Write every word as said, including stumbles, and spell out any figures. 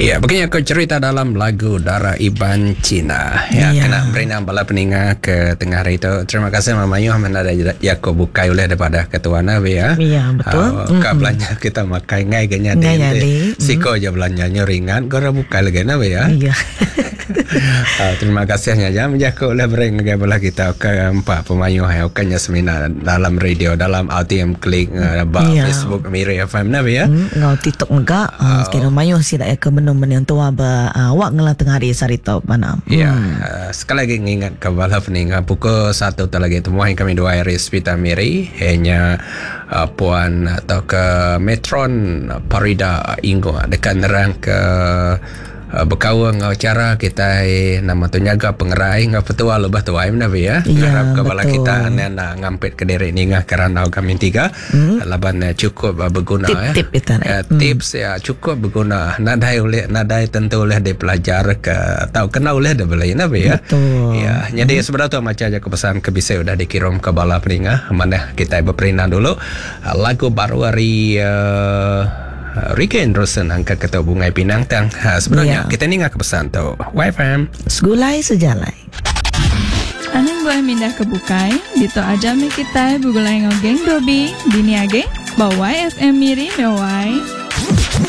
Ya, begini aku cerita dalam lagu Dara Iban Cina. Ya, Ya. kena beri bala peninga ke tengah hari itu. Terima kasih Mama Yuh mana ada Jakob bukai oleh daripada ketua Nabi ya. Ya, betul. Uh, ka belanja kita makai ngai ke nyadi. Ngai nyadi. Siko je belanjanya ringan, kau bukai lagi Nabi ya. Iya. Uh, terima kasih nya jam Jakob oleh beri ngagai bala kita ke empat pemayuh ya bukannya semina dalam radio dalam R T M Klik uh, ba Ya. Facebook Miri F M Nabi ya. Hmm, ngau TikTok mega uh, sekira mayuh sida ya ke menung menung tua ba uh, awak ngelah tengah hari sari tu mana. Ya, uh, sekali lagi ngingat ke bala peninga pukul satu tak lagi temuan kami dua hari Hospital Miri hanya uh, puan atau ke Metron Parida Inggo dekat nerang ke uh, berkawan ngau cara kita nama tu nyaga pengerai ngau petua lebah tuai nabi ya. Ya, Ngarap ke bala betul. kita anak ngampit ke diri ni ngah kerana kami tiga hmm. laban eh, cukup uh, berguna ya. Tip-tip itu, Ya, eh. tips ya cukup berguna. Nadai oleh nadai tentu oleh dipelajar ke atau kena oleh dah beli nabi ya. Betul. Ya, jadi sebenarnya tu macam aja kepesan ke bisa udah dikirim ke bala peninga mana kita berperina dulu lagu baru hari uh, Ricky Anderson angkat ketua Bungai Pinang tang. Ha, sebenarnya Ya. kita ni ngah kepesan tu. Y F M Segulai sejalai. Anang boleh mindah ke bukai, dito aja mi kita bugulai ngau geng Dobi, dini age, bawa Y F M Miri mewai.